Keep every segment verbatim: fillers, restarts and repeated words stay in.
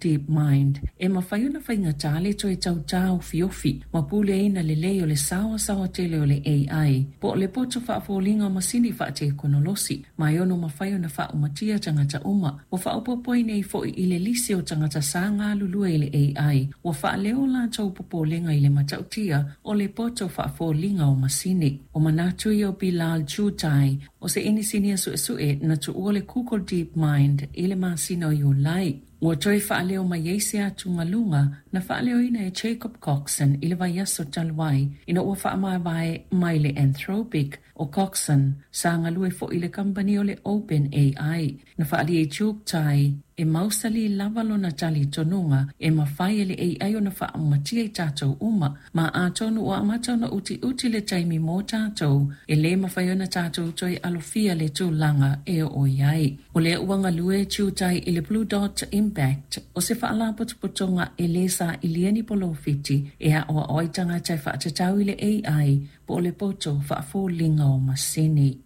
DeepMind e mafai ona faigata le toe tau taofiofi ma puleaina lelei o le saoasaoa tele o le A I po o le poto faafoliga o masini faatekonolosi, ma e ono mafai ona faaumatia tagata uma. Ua faaopoopo ai nei foi i le lisi o tagata sa galulue i le A I ua faaleo latou popolega i le matautia o le poto faafoliga o masini. O manatu ia o Bilal Chughtai, o se inisinia suesue na tuua le Google DeepMind i le masina o Iulai. Ua toe faaleo mai ai se atugaluga na faaleoina e Jacob Coxon i le vaiaso talu ai ina ua faamavae mai le Anthropic. O Coxon sa galue foi i le kamupani o le Open A I. Na faaalia e Chughtai e mausali lava lona talitonuga e mafai e le A I ona faaumatia i tatou uma, ma atonu ua amata ona utiuti le taimi mo tatou e lē mafai ona tatou toe alofia le tulaga e oo i ai. O lea ua galue Chughtai i le Blue Dot Impact, o se faalapotopotoga e lē sailia ni polofiti e aʻoaʻo ai tagata e faatatau i le A I po o le poto faafoliga o masini.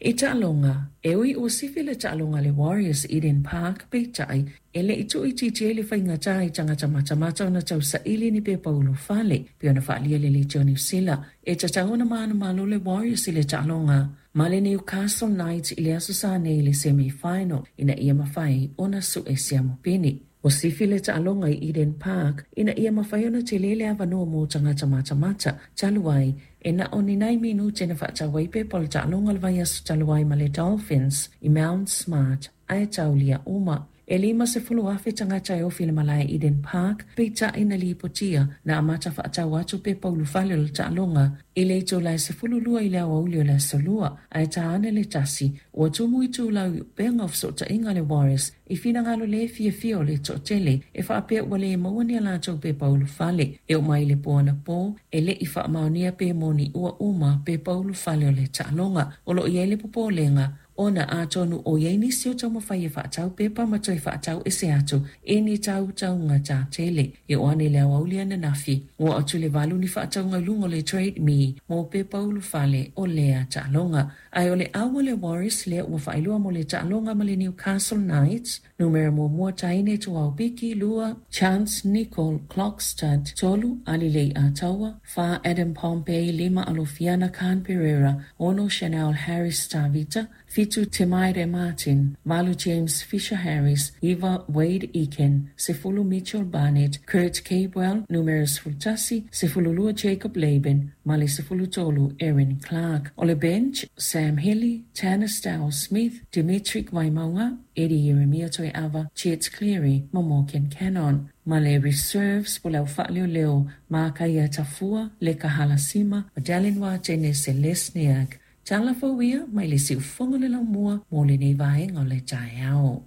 I taaloga, e ui ua sifi le taaloga le Warriors Eden Park, peitai e le i tuuitiitia ai le faigata i tagata matamata ona tausaili ni pepa ulufale pei ona faaalia le Leitio Niu Sila. E tatau ona manumalo le Warriors i le taaloga ma le Newcastle Knights i le Aso Sa nei i le semi-final ina ia mafai ona suʻe siamupini. Ua sifi le taaloga i Eden Park ina ia mafai ona tele le avanoa mo tagata matamata, talu ai e na o ni nai minute na faatau ai pepa o le taaloga le vaiaso talu ai ma le Dolphins i Mount Smart, ae taulia uma. E lima sefulu afe tagata e ofi le malae Eden Park, peitai na lipotia na amata faatau atu pepa ulufale o le taaloga i le itula e sefulu lua i le aoauli o le Aso Lua, ae ta ane le tasi ua tumu itulau i upega o fesootaiga le Warriors i finagalo le fiafia o le toatele e faapea ua le maua ni a latou pepa ulufale. E oo mai le po anapo e le i faamaonia pe moni ua uma pepa ulufale o le taaloga. O loo i ai le popolega ona atonu o iai nisi o taumafai e faatau pepa ma toe faatau ese atu i ni tautauga tatele. E oo ane i le aoauli ananafi ua atu le valu ni faatauga i luga o le Trade Me mo pepa ulufale o lea taaloga. Ae o le au o le Warriors lea ua faailoa mo le taaloga ma le Newcastle Knights: numera muamua Taine Tuaupiki, lua Chance Nicole Clockstad, tolu Alilei Ataua, fa Adam Pompey, lima Alofiana Khan Pereira, ono Chanel Harris Tavita, fitu Temaire Martin, valu James Fisher Harris, iva Wade Eakin, sefulu Mitchell Barnett, Kurt Capewell, numera sefulutasi, sefululua Jacob Laban, ma le sefulu tolu Erin Clark. O le bench: Sam Healy, Tanner Stiles Smith, Dimitri Waimaunga, Eddie Jeremia Toeava, Chet Cleary ma Morgan Cannon. Ma le reserves po le au faaleoleo Makaia Tafua, Leka Halasima, Madalyn Watene Selesniak. Tala fou ia mai le siufogo le laumua mo lenei vaega o le taeao.